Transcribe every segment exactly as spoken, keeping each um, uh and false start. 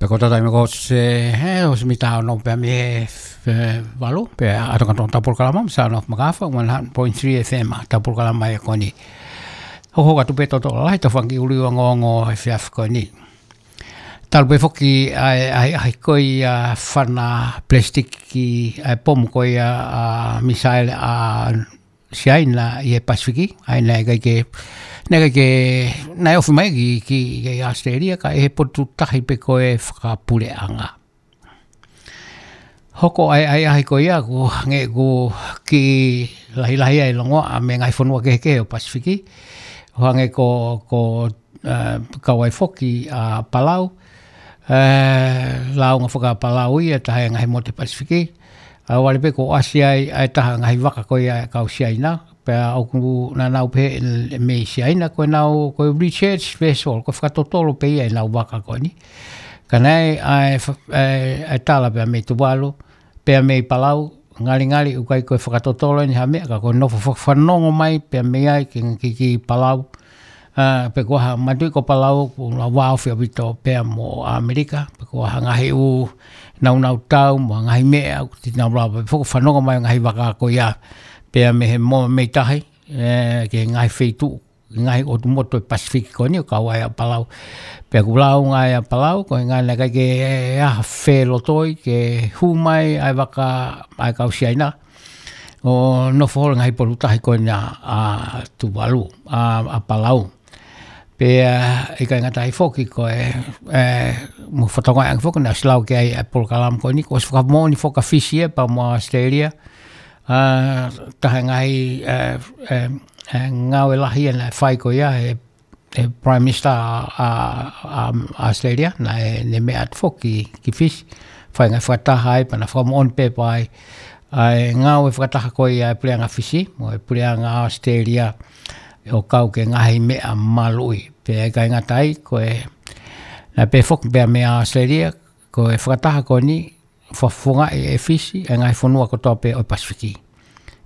Pea ko e taimi ko ē, he, ʻosi mita ono pea mei he, he valu, pea ʻalu atu ki he polokalama, Sound of Makafa, one hundred point three F M, polokalama ia ko eni. Hokohoko atu pē totolo lahi, tau fanga kiʻi ʻuluʻi ongoongo he efiafi ko eni. Talu pē foki ʻa e, ʻa e, ʻa e, ʻa e ko ia fana palesitiki ʻa e pomu ko ia ʻa e misaele ʻa Siaina ʻi he Pasifiki, ʻa ia naʻe ʻikai ke, naʻe ʻikai ke, naʻe ofi mai ki, ki, ki ʻAositelēlia, ka ʻi he potu tahi pē ko ē fakapuleʻanga. Hoko ai, ʻa e, ʻa e ko ia, ʻoku hangē ʻoku kiʻi lahilahi ai e longoaʻa mei he ngaahi fonua kehekehe ʻo e Pasifiki, ʻo hangē ko, ko, eh, kau ai foki ʻa Palau, eh, lāunga faka-Palau ia, taha e ngaahi motu Pasifiki, ʻa ia ʻoku ʻalu pē ʻo ʻasi ai, ʻa e taha e ngaahi vaka ko ia ʻa e kau Siaina, pea ʻoku nau pehē mei Siaina, ko ʻenau, ko e research vessel, ko e fakatotolo pē ia ʻenau vaka ko eni. Ka naʻe ʻi ai ʻa e fa-, ʻa e, ʻa e tala pea mei Tuvalu, pea mei Palau, ngalingali ʻoku ʻikai ko e fakatotolo eni ha meʻa ka ko e nofo fa-, fanongo mai pea mei ai ki, ki, ki Palau. ʻA, pe ko e hā, manatuʻi ko Palau, ʻoku nau vāofi ʻaupito pea mo ʻAmelika, pe ko e hā ngaahi ʻū naunau tau, mo e ngaahi meʻa, ʻoku te nau lava pē foki ʻo fanongo mai ngaahi vaka ko ia, pea mei he mo-, mei tahi, ē, ki he ngaahi feituʻu, ngaahi ʻotu motu ʻo e Pasifiki ko eni ʻoku kau ai ʻa Palau. Pea ʻoku lāunga ai ʻa Palau, ko e ngaahi naʻe ʻikai ke ʻi ai ha felotoi, ke hū mai ʻa e vaka ʻa e kau Siaina, ʻo nofo holo he ngaahi potu tahi ko ena ʻa Tuvalu, ʻa, ʻa Palau. Pea ʻikai ngata ai foki ko e, ē, mo e fakatokangaʻi ange foki naʻe ʻosi lau ki ai ʻa e polokalama ko eni, kuo ʻosi fakamoʻoni foki ʻa Fisi ia pea mo ʻAositelēlia, ʻa, taha e ngaahi, ē, ē, ē, ngāue lahi ia naʻe fai ko ia ʻe, ʻe Prime Minister ʻa, ʻa, ʻa ʻAositelēlia, naʻe, ne meʻa atu foki ki Fisi, fai e ngaahi fakataha ai, pea na fakamoʻoni pē pea ʻi ai ʻa e ngāue fakataha ko ia ʻa e Puleʻanga Fisi, mo e Puleʻanga ʻAositelēlia, ʻo kau ki he ngaahi meʻa maluʻi. Pea ʻikai ngata ai, ko e, naʻe pehē foki pea mei ʻAositelēlia, ko e fakataha ko eni, fakafofongaʻi ʻe Fisi ʻa e ngaahi fonua kotoa pē ʻo e Pasifiki.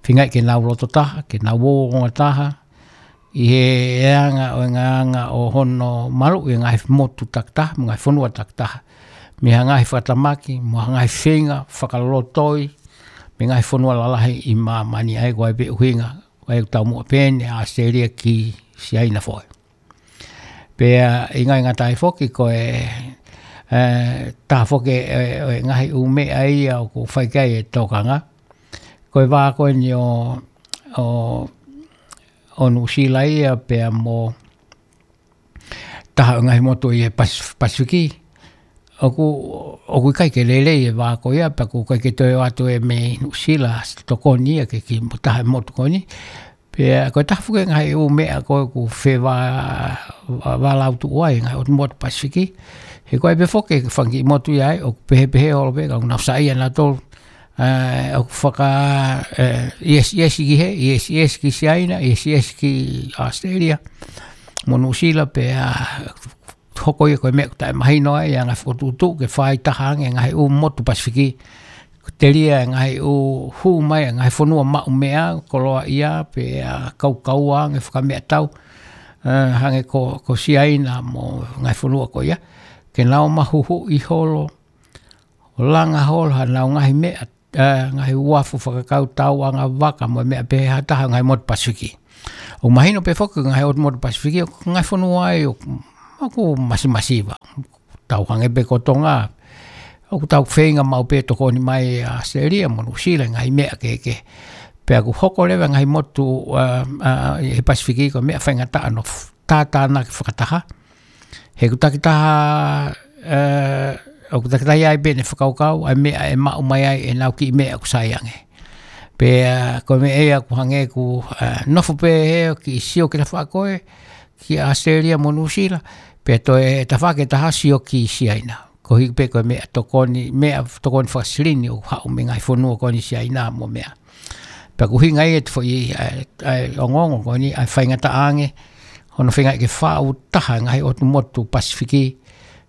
Feingaʻi ke nau loto taha, ke nau ongo taha, ʻi he anga ʻo e ngaahi anga ʻo hono maluʻi e ngaahi motu takitaha, mo e ngaahi fonua takitaha. Mei he ngaahi fakatamaki, mo e ngaahi feinga fakalotoi, mei he ngaahi fonua lalahi ʻi māmani, ʻa ia ko e ʻai pē ʻuhinga, ʻa ia ʻoku taumuʻa pē eni ʻa ʻAositelēlia ki Siaina foki. Pea ʻikai ngata ai foki ko e, ē, taha foki ʻe, ʻe, ʻe ngaahi ʻū meʻa ia ʻoku fai ki ai e tokanga. Ko e vā ko eni ʻo, ʻo, ʻo Nuʻusila ia pea mo taha ʻo e ngaahi motu ʻi he Pas-, Pasifiki. ʻOku, ʻoku ʻikai ke lelei e vā ko ia, pea ʻoku ʻikai ke toe ʻoatu ʻe mei Nuʻusila tokoni ia ke ki mo taha e motu ko eni. Pea ko e taha foki e ngaahi ʻū meʻa ko ē ʻoku fevā-, vā-, vālautuʻu ai e ngaahi ʻotu motu Pasifiki. He ko e ʻai pē foki e fanga kiʻi motu ia ai, ʻoku pehē pehē holo pē, ka ʻoku nau saiʻia nautolu. Ē, ʻoku faka-, ē, ʻiesi, ʻiesi ki hē, ʻiesi, ʻiesi ki Siaina, ʻiesi, ʻiesi ki ʻAositelēlia, mo Nuʻusila, pea hoko ia ko e meʻa ʻoku taʻemahino ai ʻa e ngaahi fokotuʻutuʻu ke fai taha ange e ngaahi ʻū motu Pasifiki. Ko e telia e ngaahi ʻū hū mai e ngaahi fonua maʻu meʻa, koloaʻia, pea kaukaua ange fakameʻatau, ē, hangē ko, ko Siaina mo e ngaahi fonua ko ia. Ke nau mahuhuʻi holo, ʻo langa holo haʻanau ngaahi meʻa, ē, ngaahi uafu fakakautau, anga vaka mo e meʻa pehē ha taha e ngaahi motu Pasifiki. ʻOku mahino pē foki ko e ngaahi ʻotu motu Pasifiki, ʻoku ngaahi fonua ia ʻoku, ʻoku masimasiva. Tau hangē pē ko Tonga, ʻoku tau feinga maʻu pē tokoni mai ʻa ʻAositelēlia mo Nuʻusila he ngaahi meʻa kehekehe. Pea ʻoku hoko leva e ngaahi motu, ē, ē, ʻi he Pasifiki ko e meʻa faingataʻa hono f-, tātānaki fakataha. He ʻoku takitaha, ē, ʻoku takitaha ia ai pē ʻene fakakaukau, ʻa e meʻa ʻe maʻu mai ai ʻenau kiʻi meʻa ʻoku sai ange. Pea ko e meʻa ia ʻoku hangē ʻoku, ē, nofo pē ʻo kiʻi sio ki he tafaʻaki ko ē, ki ʻAositelēlia mo Nuʻusila, pea toe tafaʻaki ʻe taha sio ki Siaina. Koeʻuhi pē ko e meʻa tokoni, meʻa tokoni fakasilini ʻoku haʻu mei he ngaahi fonua ko eni Siaina mo e meʻa. Pea ʻoku ʻuhinga ia ʻetau foʻi, ē, ē, ongoongo ko eni, ʻa e faingataʻa ange hono feingaʻi ke faʻu taha e ngaahi ʻotu motu Pasifiki,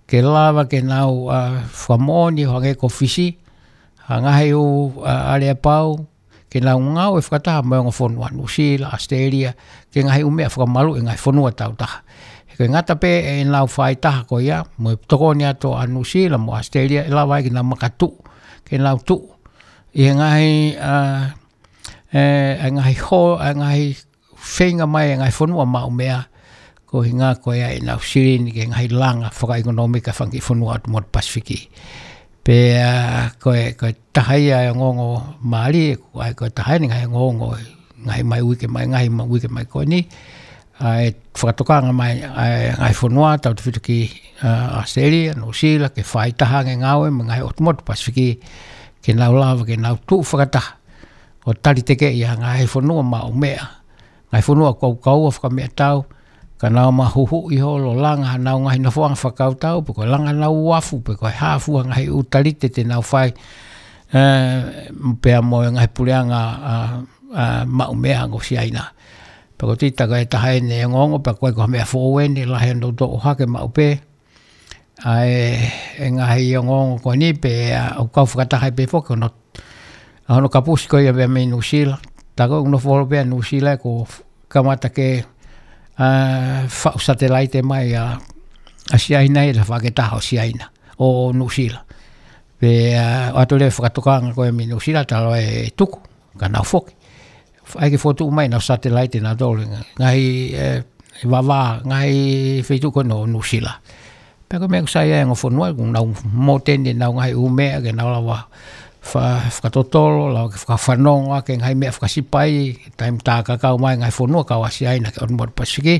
ke lava ke nau, ē, fakamoʻoni ʻo hangē ko Fisi, ha ngaahi ʻū, ē, aleapau, ke nau ngāue fakataha mo e ongo fonua Nuʻusila, ʻAositelēlia, ki he ngaahi ʻū meʻa fakamaluʻi e ngaahi fonua tau taha. He Ko e ngata pē ʻenau faʻitaha ko ia, mo e tokoni atu ʻa Nuʻusila mo ʻAositelēlia, ʻe lava ai ke nau makatuʻu, ke nau tuʻu ʻi he ngaahi, ʻa, ʻe, ʻa e ngaahi hō, ʻa e ngaahi feinga mai ʻa e ngaahi fonua maʻu meʻa, ko e ʻuhinga ko ia ʻenau silini ki he ngaahi langa fakaʻekonōmika ʻa e fanga kiʻi fonua ʻo e motu Pasifiki. Pea, ʻa, ko e, ko e taha ia e ongoongo mālie, ko e, ko e taha eni e ngaahi ongoongo, ngaahi mai uike mai, ngaahi mai uike mai ko eni, ʻa e fakatokanga mai ʻa e ngaahi fonua, tautefito ki, ʻa, ʻAositelēlia, Nuʻusila, ke faʻitaha ange e ngāue mo e ngaahi ʻotu motu Pasifiki, ke nau lava, ke nau tuʻu fakataha ʻo talitekeʻi ʻa e ngaahi fonua maʻu meʻa, ngaahi fonua kaukaua fakameʻatau, ka nau mahuhuʻi holo, langa hanau ngaahi nofoʻanga fakakautau, pe ko e langa hanau uafu, pe ko e hā fua e ngaahi ʻū talite te nau fai, ʻe, pea mo e ngaahi puleʻanga, ʻa, ʻa, maʻu meʻa ʻa Siaina. Pea ko e tita ko e taha eni e ongoongo, pea ko e ko e meʻa foʻou eni, lahi hono toʻo hake maʻu pē ʻa e, e ngaahi ongoongo ko eni pea, ʻa, ʻoku kau fakataha ai pē foki hono, ʻa hono kapusi ko ia pea mei Nuʻusila. Tā ko ē ʻoku nofo holo pē ʻa Nuʻusila ʻo kamata ke, ʻa, faʻu satelaite mai ʻa, ʻa Siaina ʻi he tafaʻaki ʻe taha ʻo Siaina, ʻo Nuʻusila. Pea, ʻa, ʻoatu leva e fakatokanga ko ē mei Nuʻusila, talu ai e tuku, ka nau foki. ʻAi ke fokotuʻu mai ʻenau satelaite nautolu, ngaahi, ʻe, vavā, ngaahi feituʻu ko ē ʻo Nuʻusila. Pea ko e meʻa ʻoku sai ai e ongo fonua, ʻoku nau mōteni ʻenau ngaahi ʻū meʻa, ke nau lava fa-, fakatotolo, lava ke fakafanongo ʻaki e ngaahi meʻa fakasipa ʻi he taimi tā kakau mai e ngaahi fonua kau ʻa Siaina ki he ʻotu motu Pasifiki.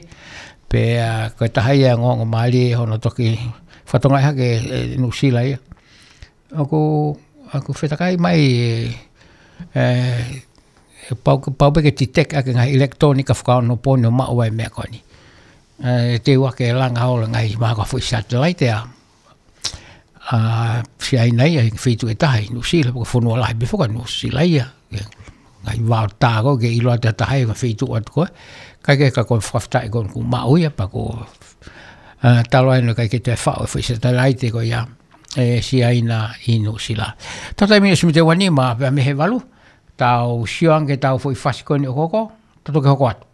Pea, ʻa, ko e taha ia e ongoongo mālie hono toki fakatokangaʻi hake ʻe, ʻe Nuʻusila ia. ʻOku, ʻoku fetakai mai ʻe, ʻe, ʻe pau, pau pē ke detect ʻaki e ngaahi ʻilekitulōnika fakaonopooni ʻo maʻu ai e meʻa ko eni. ʻE, teu ʻaki e langa holo e ngaahi mahaki ʻa e foʻi satelaite ʻa, ʻa Siaina ia ʻi he feituʻu ʻe taha ʻi Nuʻusila, pe ko e fonua lahi pē foki ʻa Nuʻusila ia. ʻE, ngaahi vao tā ko ē ke ʻilo atu ʻe ha taha ʻi he feituʻu atu ko ē. Kae kehe ka ko e fakafetaʻi ko ē ʻoku maʻu ia, pea ko, ʻa, talu ai naʻe ʻikai ke toe faʻu e foʻi satelaite ko ia ʻe Siaina ʻi Nuʻusila. Tau taimi ʻosi mite ua nima pea mei he valu, tau sio ange ki heʻetau foʻi fasi ko eni ʻoku hoko, tau toki hoko atu.